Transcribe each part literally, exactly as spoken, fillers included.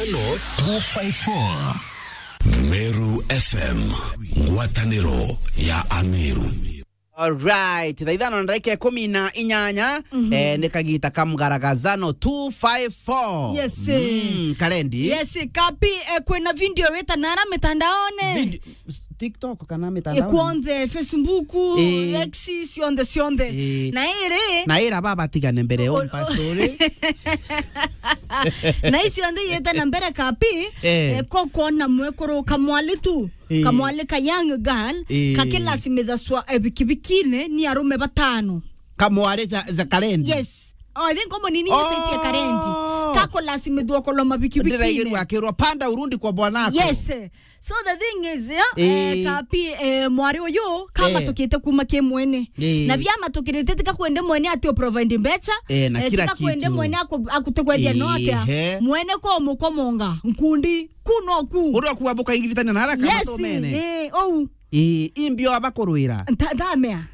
Two five four. Meru F M, ngwataniro ya Ameru. Alright, thaa ithano na ndagika ikumi na inyanya, eh, ni kagita ka mgaragazano two five four. Yes, eh. Mm, Karendi. Yes, Kapi, eh, kwina video wita nara mitandaone. Video, TikTok kana mitandaone? Eh, kwonthe, Facebook, eh, X, cionthe, cionthe. Eh. Na iri. Na ira baba tigane mbere yo mpastori. Na icio nthe yete na mbere Kapi, eh, eh, ko kwona mwekuru kamwali tu, eh, kamwali ka young girl, eh, kakilasimithacwa, eh, bikibikine ni arume batano. Kamwali za, za Karendi? Yes. Oh, I think komo nini nyesetie Karendi. Kakulasimithwa koloma bikibikine. Ndiraigirwa akirwa, "Panda urudi kwa bwanako." Yes. So the thing is, yeah, eh, eh, Kapi, eh, mwari uyu, eh, kamatukite kuma ki mwene. Eh. Na bia matukirite tika kwende mwene ati u provide mbecha, eh, na eh, kila tika kwende kitu. Mwene aku-, akute kwethia no atia. Ehe. Mwene ko mukomonga, nkundi, ku no ku. Uri okuwa bukaigitania na haraka. Yes, matomene. Eh, ou. Eh, imbio abakurwira. Nta-, ntamea.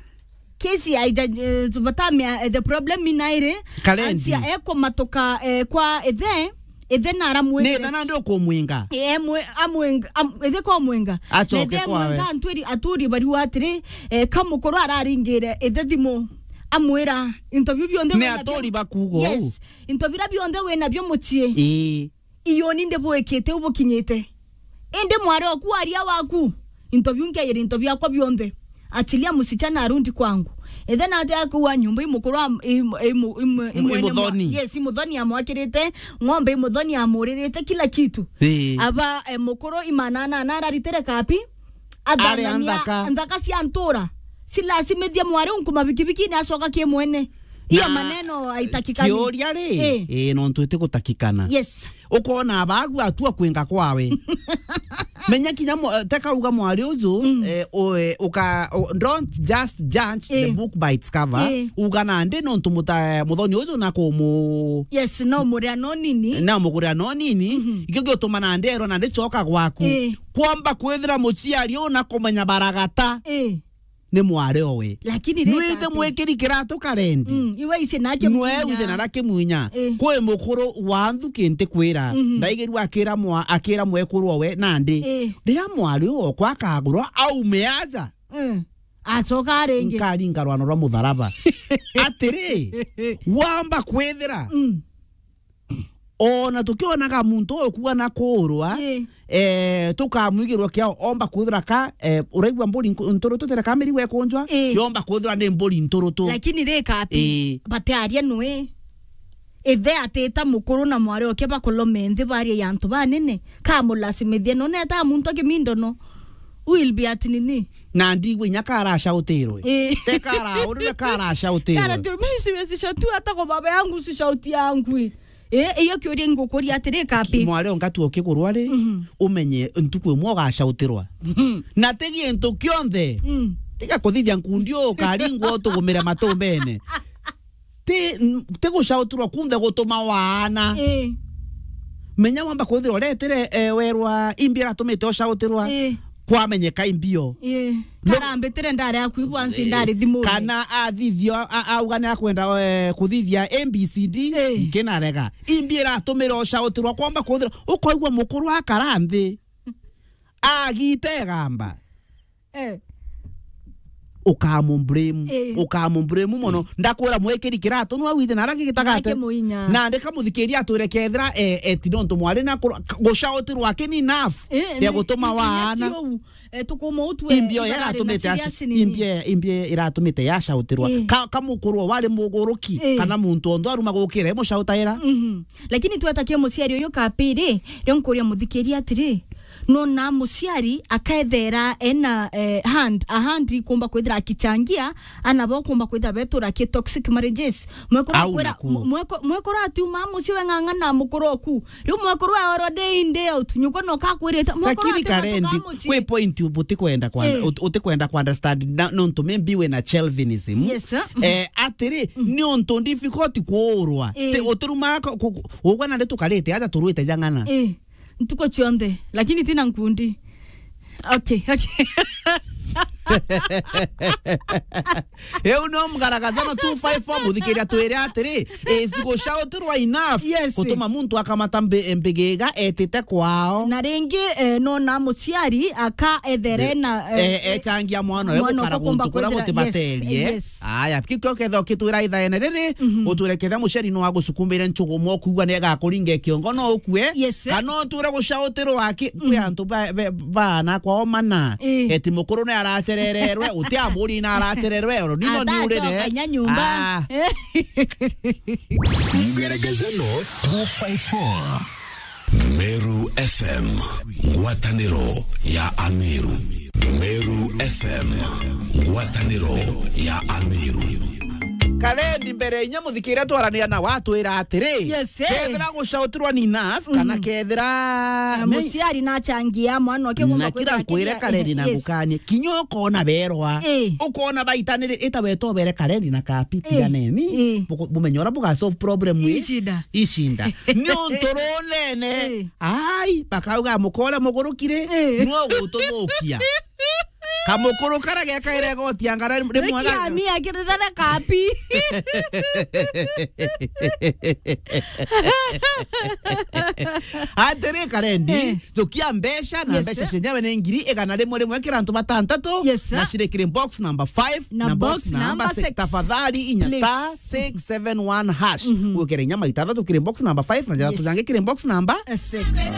Kesi aija, eh, tubatamia, eh, the problem inairi. Karendi. Ansia ekumatuka, eh, kwa ithe, ithe na aramwira. Ni ithe nandi ukumwinga? Eh, mwe-, amwinga, am-, ithe kwa mwinga. Acoke na ithe kwawe. Amwinga antwiri, aturi bariu atiri, eh, kamukuru araringire ithe thimu. Amwira, into biu bionthe ni wina bio-, aturi bakuuga uu? Yes. Into bira bionthe wina bio mucii. Ii. Iyo ni ndibwikite ubukinyite. Indi mwari oku aria waku, into biu nkeire into biakwa bionthe. Achilia msichana arudi kwangu. Ithe nate akuwa nyumba imukuru am-, im-, im-, im-, im-, imwene mwa-, imuthoni. Yes, imuthoni amwakirite, ng'ombe imuthoni amuririte, kila kitu. Ii. Aba, eh, mukuru imanana na araritire Kapi, athangania nthaka. Nthaka cia ntura. Silasimithia mwari unku mabikibikine acoka ki mwene. Iyo na maneno haitakikani. Kiuria ri, eh, eh, nontu itigutakikana. Yes. Ukona abagu atua kwinga kwawe. Menya kinya mwa-, teka uga mwari uju, mm, eh, u-, eh, uka-, u-, don't just judge the, eh, book by its cover. Eh. Uga nandi nontu muta-, muthoni uju na kumu-, yes, no muria no nini. Na mukuria no nini. Mhm. Ikio giutuma nandi erwa nandi coka gwaku. Eh. Kwomba kwithira muciari u na kumenya baragata. Eh. Ni mwari owe. Lakini ri, nwite Kapi, mwikiri kiratu Karendi. Mm, iwe ici nake nwe mwinya. Wite na nake mwinya. Eh. Kwi mukuru wa nthuki ntikwira. Mhm. Ndaigirwa akira mwa-, akira mwekuru owe nandi. Eh. Riria mwari okwa akagurwa aume aja. Mm. Acoka ringi. Nkaringa rwano rwa mutharaba. Atiri, wamba kwithira. Mm. Ona tukionaga muntu ukuga na kuurwa, ii, eh, tukamwigirwa kiao, omba kwithira ka, eh, uraigua mburi nku-, nturutu tere ka mirigo ekunjwa, ii, yomba kwithira ni mburi nturutu. Lakini ri Kapi, ii, batiaria nwe. Ithe atita mukuru na mwari oke bakolome nthi barie ya antu banene, kamulasimithia none ta muntu akimindono. Will be at nini? Na ndigwe inya karacautirwe. Ii. Te kara, urire karacautirwe. Kara tu, mimi siwezi shauti hata kwa baba yangu, si shauti yangu. Eh, iyo kiuria ngukuria atiri Kapi. Mwari onga tu ukigurwa ri, mhm, umenye ntuku imwe ugacautirwa. Mhm. Na ti gintu kionthe. Mm. Tiga kuthithia nkundi ukaringwa utugumire matumbene. Ti, ti gucautirwa kunthe gutuma waana. Eh. Menya wamba kwithirwa uretire, eh, werwa imbi iratumite ucautirwa. Eh. Kwamenyeka imbio. Ii. No- karambitire ndari aku ibwansi, ii, ndari thimuni. Kana athithio, a-, auga ni akwenda, eh, kuthithia A B C D, ii, nkinarega. Imbi iratumira ucautirwa kwomba kuthira, ukoigua mukuru akara nthi. Agite gamba. Eh. Ukamublame, ii, ukamublame mono. Ndakwira mwikiri kiratu nwa withe nara gigitagate. Nake muinya. Na ndika muthikiria atwire kethira, eh, eti nontu mwari na kuru-, gucautirwa aki ni enough, eh, ya ni-, gutuma i-, waana. Inya ti uu. Eh, tukuma utwe imbio ibara iratumite rina ya serious nini? Imbio, imbio iratumite yacautirwa. Eh. Ka, ka mukuru wari muguruki, eh, kana muntu onthe aruma gukira imucautaira. Mhm. Lakini twetakia muciari uyu Kapi ri, rio nkuria muthikiria atiri, nona muciari akethera ena, eh, hand, a hand ikumba kwithira akichangia, ana bo kumba kwithira betura ki toxic marriages. Mwekuru au akwira, naku. Mwe-, mweko-, mwekuru atiuma mucii we ng'ang'ana mukuru oku. Riu mwekuru we already in day out. Nyuko no kakwirite. Mwekuru. Lakini ati Karendi, mucii. Kwi point u-, utikwenda kwa-, eh, ut-, utikwenda ku understand na, nontu maybe we na Chelvinism. Yes, sir. Eh, atiri, mhm, ni untu difficult kuurwa. Eh. Ti uturuma ko-, ku-, ku-, ugwa na ndi tukarite aja turwite jang'ana. Eh. Ntuku cionthe, lakini tina nkundi. Okay, okay. Eu no mgaragazano two five four, muthikiria twire atiri, is gushautwa enough. Yes. Gutuma muntu akamata mbi-, mbigiga etite kwao. Na ringi, eh, no na muciari aka ethere na, eh, eh, eh, echangia mwana uyu mwana gukara ukumba guntu kuria kwithira-, gutibaterie. Yes, yes. Aya, kikio ketho kitwira ithaene riri, mhm, utwire ketha muciari no agusukumire nchugumo, ukugua ni agakuringa kiongo no ukue. Yes, eh. Kana utwire gushautirwa aki, kwi, mm, antu ba, ba, baana kwao mana. Eh. Eti mukuru ni aracerererwe, uti amuri na aracerererwe, oro nino ni urire. Atacoka inya nyumba. Ah. Eh. Mgaragazano two five four. Meru F M, ngwataniro ya Ameru. Meru F M, ngwataniro ya Ameru. Karendi, mbere inya muthikiria twarania na watwira atiri, yes, eh, kethira gushautirwa ni enough, kana, mhm, kethira na me-, muciari nachangia mwana wake na gomba kira kwithira nkwire akiri-, Karendi na, yes, ngukanie, kinya ukona berwa, eh, ukona baitanire, ita wetobere Karendi na Kapi, eh, tiganeni, eh, buku-, bumenye uria buga solve problem ii. Icida. Icinda. Ni untu runene. Eh. Ai, bakauga mukore mugurukire, eh, no gututhukia. Kamukuru kara gekaire goti angara rimwe. Wiki aga- ami akirira na Kapi. Atiri Karendi, eh, tukia mbeca na, yes, mbeca sir, cenyewe ni ngiri igana rimwe rimwe kira antu batantatu, yes, sir, na ciri kiri box number five na, na box, box number number six. Six. Tafadhali inya, please, star six seven one hash. Mhm. Wikire inya maita athatu kiri box number five na jathatu, yes, jangi kiri box number, eh, six.